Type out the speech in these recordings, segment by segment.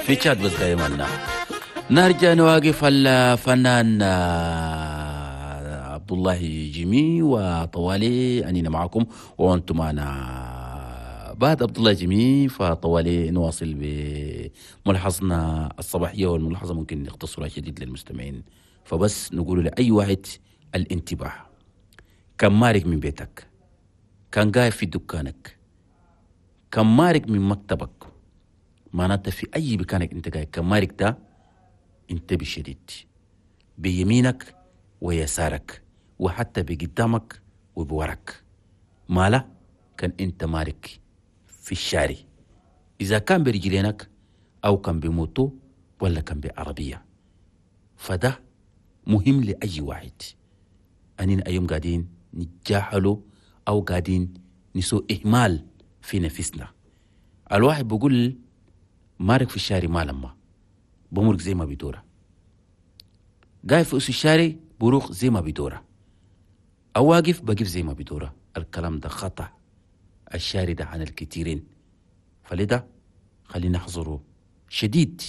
في شات بس قايمنا. نرجع نواقف الفنان عبد الله جيمي وطوالي أنينا معكم وأنتم معنا. بعد عبد الله جيمي فطوالي نواصل بملحظنا الصباحية، والملاحظة ممكن نختصرها شديد للمستمعين، فبس نقول لأي واحد الانتباه. كان مارق من بيتك، كان قاعد في دكانك، كان مارق من مكتبك، معناته في أي مكانك أنت قاعد كان مارق ده انتبه شديد بيمينك ويسارك وحتى بقدامك وبورك. مالا كان انت مارك في الشارع، اذا كان برجلينك او كان بموتو ولا كان بعربية، فده مهم لأي واحد. أننا أيوم قاعدين نتجاهلوا أو قاعدين نسوي إهمال في نفسنا. الواحد بيقول مارك في الشارع ما لما بمرق زي ما بيدوره، قاعد في أس الشارع بروخ زي ما بيدوره، أو واقف بقف زي ما بيدوره. الكلام ده خطأ، الشارع ده عن الكثيرين، فلذا خلينا نحذره شديد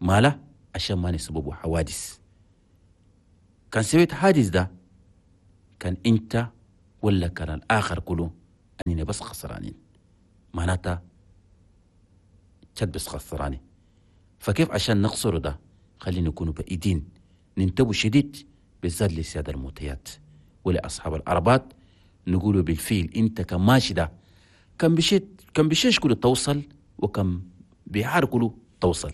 ماله عشان ما نسببه حوادث. كان سويت حادث ده كان انت ولا كان الاخر كله اننا بس خسرانين، معناتها شد بس خسرانين. فكيف عشان نخسره ده خلينا نكون بعيدين، ننتبه شديد بالذات لسيادة الموتيات ولأصحاب العربات. نقولوا بالفيل انت كماشي ده كم بشيت كم بشيش كله توصل وكم بيحار كله توصل،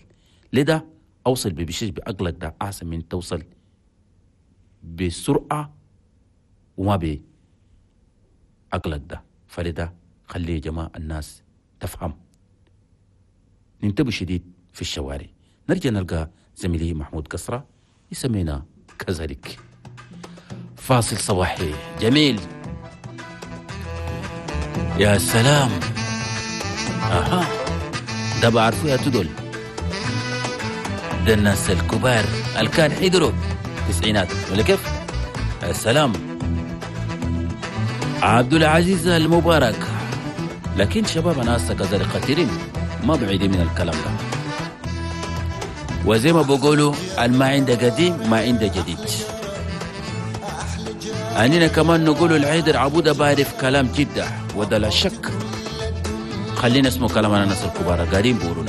لذا اوصل ببشيش بعقلك ده احسن من توصل بسرعة وما بعقلك ده. فلذا خلي يا جماعة الناس تفهم، ننتبه شديد في الشوارع. نرجع نلقى زميلي محمود قصرة يسمينا كذلك. فاصل صباحي جميل، يا سلام. اها ده بعرفه يا تدول، ده الناس الكبار اللي كان حضروا تسعينات ولا كيف؟ السلام عبد العزيز المبارك. لكن شباب ناس كذلك خطيرين ما بعيدين من الكلام ده، وزي ما بقولوا ما عنده قديم ما عنده جديد. أننا كمان نقولوا العيدر عبودة بعرف كلام جدة وده لا شك. خلينا اسمه كلام الناس الكبار قاعدين بيقولوا.